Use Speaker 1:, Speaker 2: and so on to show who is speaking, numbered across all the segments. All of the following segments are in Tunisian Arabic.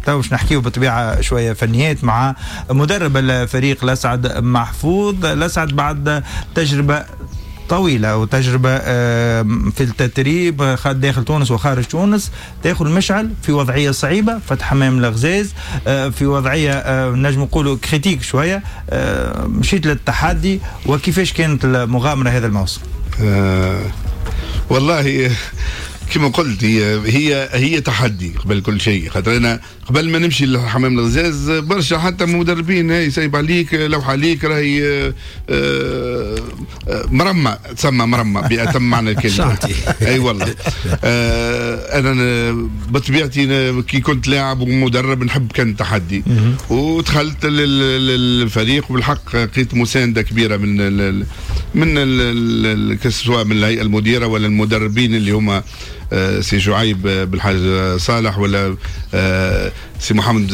Speaker 1: تو باش نحكيو بالطبيعة شوية فنيات مع مدرب الفريق لسعد محفوظ. لسعد بعد تجربه طويلة وتجربة في التدريب داخل تونس وخارج تونس، تاخذ المشعل في وضعية صعيبة، فتح حمام الغزاز في وضعية نجم نقولوا critique شوية، مشيت للتحدي، وكيفاش كانت المغامرة هذا الموسم؟
Speaker 2: والله كما قلت هي تحدي قبل كل شيء، خاطر انا قبل ما نمشي لحمام الغزاز برشا حتى مدربين هاي سايب عليك، لوحة عليك، راهي مرمى، تسمى مرمى بأتم معنى الكلمة. اي والله انا بطبيعتي كي كنت لاعب ومدرب نحب كان التحدي، ودخلت للفريق وبالحق لقيت مساندة كبيرة من سواء من الهيئة المديرة ولا المدربين اللي هما سي شعيب بالحاج صالح ولا سي محمد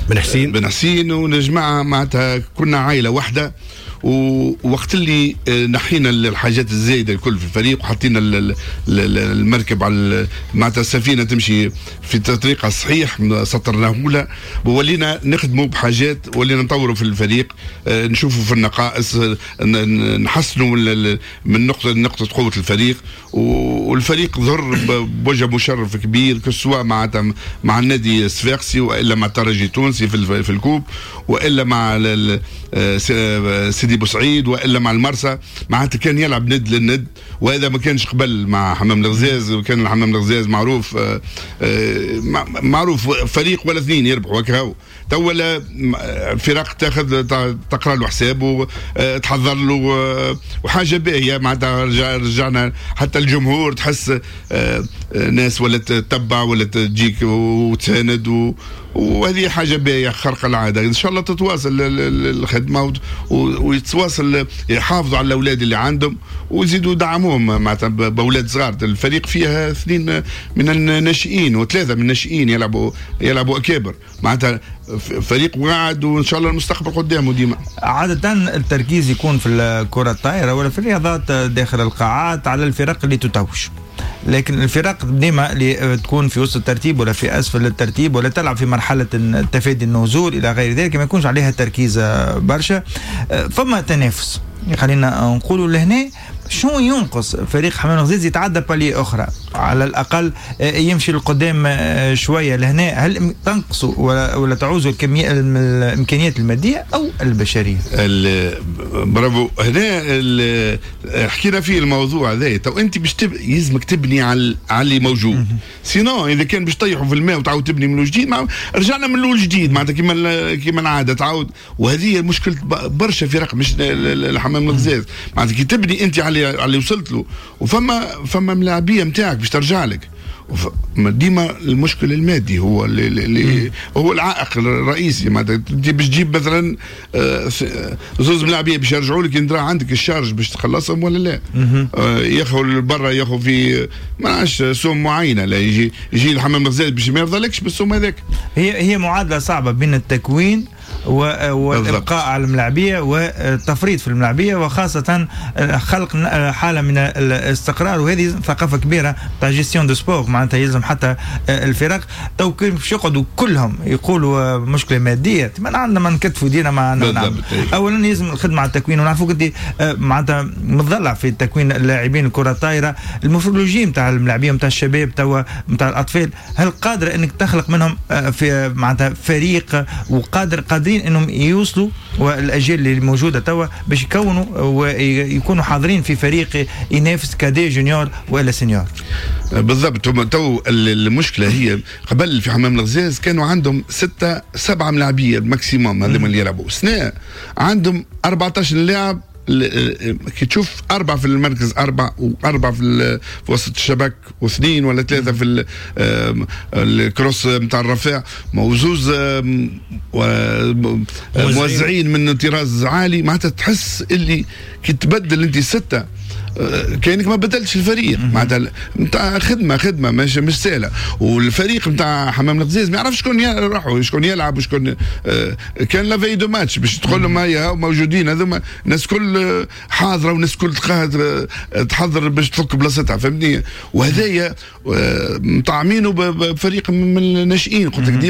Speaker 3: بن حسين.
Speaker 2: بن حسين ونجمع، معناتها كنا عائلة واحده. ووقت اللي نحينا الحاجات الزايدة الكل في الفريق وحطينا المركب على معناتها السفينة تمشي في الطريق الصحيح، سطرناه لها وولينا نخدموا بحاجات، ولينا نطوروا في الفريق، نشوفوا في النقائص، نحسنوا من نقطه قوة الفريق، والفريق ظهر بوجه مشرف كبير، سواء مع النادي الصفاقسي والا مع الترجي التونسي في ال coupe والا مع سيدي بوسعيد والا مع المرسى. معناتها كان يلعب ند للند، وهذا ما كانش قبل مع حمام الغزاز. كان حمام الغزاز معروف معروف فريق ولا اثنين يربحوا وكهو. تو ولا فرق تاخذ تقرا له حسابه، تحضر له، وحاجه باهيه. معناتها رجعنا حتى الجمهور، تحس ناس ولا تتبع ولا تجيك وتساند، وهذه حاجة باهيه خارقة العاده. ان شاء الله تتواصل الخدمة ويتواصل يحافظوا على الاولاد اللي عندهم ويزيدوا يدعموهم معناتها باولاد صغار. الفريق فيها اثنين من الناشئين وثلاثة من الناشئين يلعبوا اكابر، معناتها فريق واعد وان شاء الله المستقبل قدامه ديما.
Speaker 1: عادة التركيز يكون في الكرة الطائرة ولا في الرياضات داخل القاعات على الفرق اللي تتوج، لكن الفرق ديما اللي تكون في وسط الترتيب ولا في اسفل الترتيب ولا تلعب في مرحلة تفادي النزول الى غير ذلك ما يكونش عليها تركيز برشا. فما تنافس، خلينا نقولوا لهنا شنو ينقص فريق حمام الغزاز يتعدى palier اخرى، على الاقل يمشي لقدام شوية لهنا؟ هل تنقصوا ولا تعوزوا الكمية الامكانيات المادية او البشرية؟
Speaker 2: برافو، هنا حكينا فيه الموضوع هذا. تو انت باش يلزمك تبني على اللي موجود، sinon اذا كان باش تطيحوا في الماء وتعاود تبني من جديد، رجعنا من الاول جديد، معناتها كيما العادة تعاود. وهذه مشكلة برشا فرق مش الحمام الغزاز، معناتها كي تبني انت على اللي وصلت له وفما ملاعبيه نتاعك باش ترجع لك، ديما المشكل المادي هو اللي هو العائق الرئيسي. معناتها انت باش تجيب مثلا زوز ملاعبيه باش يرجعوا لك، انت عندك ال charge باش تخلصهم ولا لا؟ ياخذ برا، ياخذ في ما نعرفش سوم معينه، لا يجي الحمام الغزال باش ما يرضى بالسوم هذاك.
Speaker 1: هي معادلة صعبة بين التكوين والابقاء على الملاعبيه والتفريط في الملاعبيه، وخاصة خلق حاله من الاستقرار، وهذه ثقافة كبيرة تاع gestion de sport. معناتها يلزم حتى الفرق تو باش يقعدوا كلهم يقولوا مشكلة ماديه، ما عندنا ما نكتفوا دينا ما نعم. اولا يلزم الخدمة على التكوين، ونعرفوك انت معناتها متضلع في تكوين اللاعبين الكره الطايره. ال morphologie نتاع الملاعبيه نتاع الشباب توا نتاع الاطفال، هل قادرة انك تخلق منهم في معناتها فريق وقادر قادرين انهم يوصلوا، والاجيال اللي موجودة توا باش يكونوا ويكونوا حاضرين في فريق ينافس cadets، juniors ولا seniors؟
Speaker 2: بالضبط. تو المشكلة هي قبل في حمام الغزاز كانوا عندهم ستة سبعة ملاعبيه maximum هذوما اللي يلعبوا، سنة عندهم 14 لاعب. كي تشوف أربعة في المركز، أربعة وأربعة في وسط الشبك، واثنين ولا ثلاثة في ال cross نتاع الرفاع، وزوز موزعين من طراز عالي، معناتها تحس اللي كي تبدل أنت ستة كانك ما بدلتش الفريق. معناتها نتاع خدمه مش سهله. والفريق نتاع حمام الغزاز ما يعرفش شكون راحوا، شكون يلعب وشكون كان la veille de match باش تقول لهم هيا موجودين هذوما، الناس كل حاضره والناس كل تحضر باش تفك بلاصتها، فهمتني؟ وهذايا مطعمينه بفريق من الناشئين، قلت لك ديما.